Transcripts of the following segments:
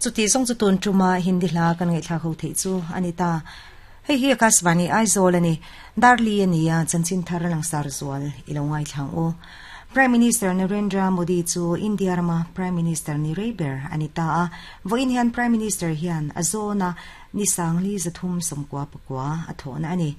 Chuti zawng chu tun tuma Hindi hla kan ngaihthlak ho theih chu a ni ta. Hei hi Akashvani Aizawl a ni. Darli a ni a, chanchin thar a langsar zual i lo ngaithlang u. Prime Minister Narendra Modi chu India rama Prime Minister ni rei ber a ni ta a. Vawiin hian Prime Minister hian a zawna ni sangli 300 sawmkua pakua a thawhna a ni.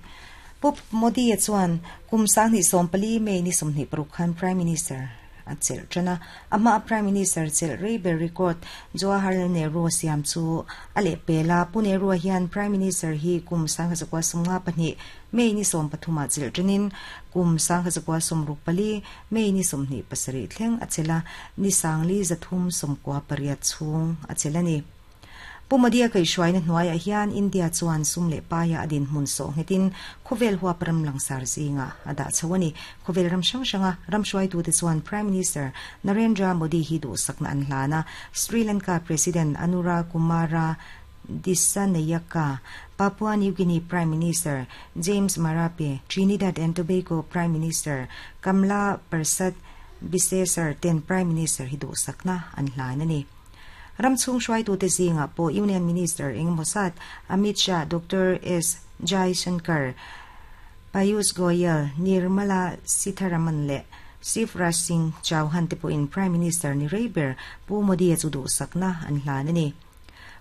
Pu Modi-a chuan kum 2014 May ni 26 khan Prime Minister a chelh tan a. A hmaa Prime Minister chelh rei ber record Jawaharlal Nehru a siam chu a lehpel a. Pu Nehru-a hian Prime Minister hi kum 1952 May ni 13 ah chelh tanin kum 1964 May ni 27 thleng a chelh a, ni 4398 chhung a chelh a ni. Pu Modi-a kaihhruaina hnuaiah hian India chuan sum leh paia a dinhmun sawh nghetin khawvel huap ram langsar zingah a dah chho a ni. Khawvel ram hrang hranga ram hruaitute chuan Prime Minister Narendra Modi hi duhsakna an hlan a, Sri Lanka President Anura Kumara Dissanayaka, Papua New Guinea Prime Minister James Marape, Trinidad and Tobago Prime Minister Kamla Persad Bissessar ten Prime Minister hi duhsakna an hlan a ni. Ram chhung hruaitute zingah pawh Union Minister engemaw zat Amit Shah, Doctor S Jaishankar, Piyush Goyal, Nirmala Sitharaman leh Shivraj Singh Chauhan te pawhin Prime Minister ni rei ber Pu Modi-a chu duhsakna an hlan a ni.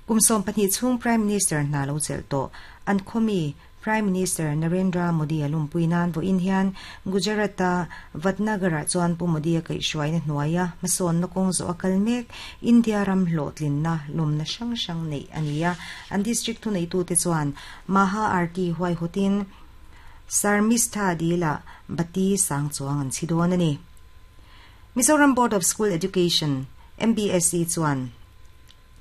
Kum 12 chhung Prime Minister hna lo chelh tawh an khawmi Prime Minister Narendra Modi a lumpui nan vawiin hian Gujarat-a Vadnagar-ah chuan Pu Modi-a kaihhruaina hnuaia hmasawnna kawng zawh a kal mek India ram hlawhtlinna lumna hrang hrang neih a ni a. An district thuneitute chuan Maha Aarti huaihawtin Sarmistha Dil-ah bati sang chuang an chhi dawn a ni. Mizoram Board of School Education, MBSE, chuan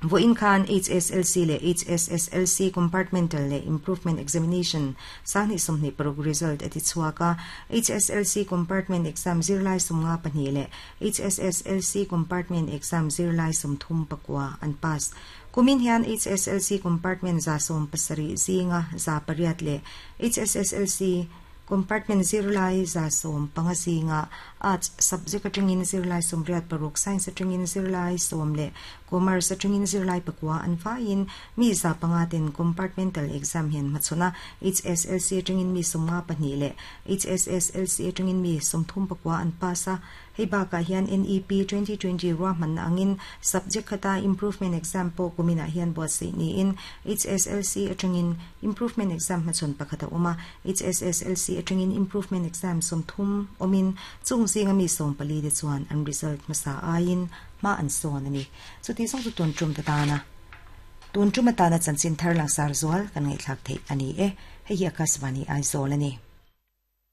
Vawiin khan HSLC leh HSSLC Compartmental leh Improvement Examination 2026 result a ti chhuak a. HSLC Compartment Exam zirlai 52 leh HSSLC Compartment Exam zirlai 39 an pass. Kumin hian HSLC Compartment 170 zinga 800 leh HSSLC Compartment zirlai 15 zinga Arts subject atangin zirlai 86, Science atangin zirlai 10 leh Commerce atangin zirlai 9 an vaiin mi 500 ten Compartmental exam hian hmachhawn a, HSLC atangin mi 52 leh HSSLC atangin mi 39 an pass a. Hei bakah hian NEP 2020 ruahmanna angin subject khata improvement exam pawh kuminah hian buatsaih niin HSLC atangin improvement exam hmachhawn pakhat a awm a, HSSLC atangin improvement exam 30 awmin chung zinga mi 14 te chuan an result hmasa aiin hma an sawn a ni. Chuti zawng chu tun tum ta tana tun tum atana chanchin thar langsar zual kan ngaihthlak theih a ni e. Hei hi Akashvani Aizawl a ni.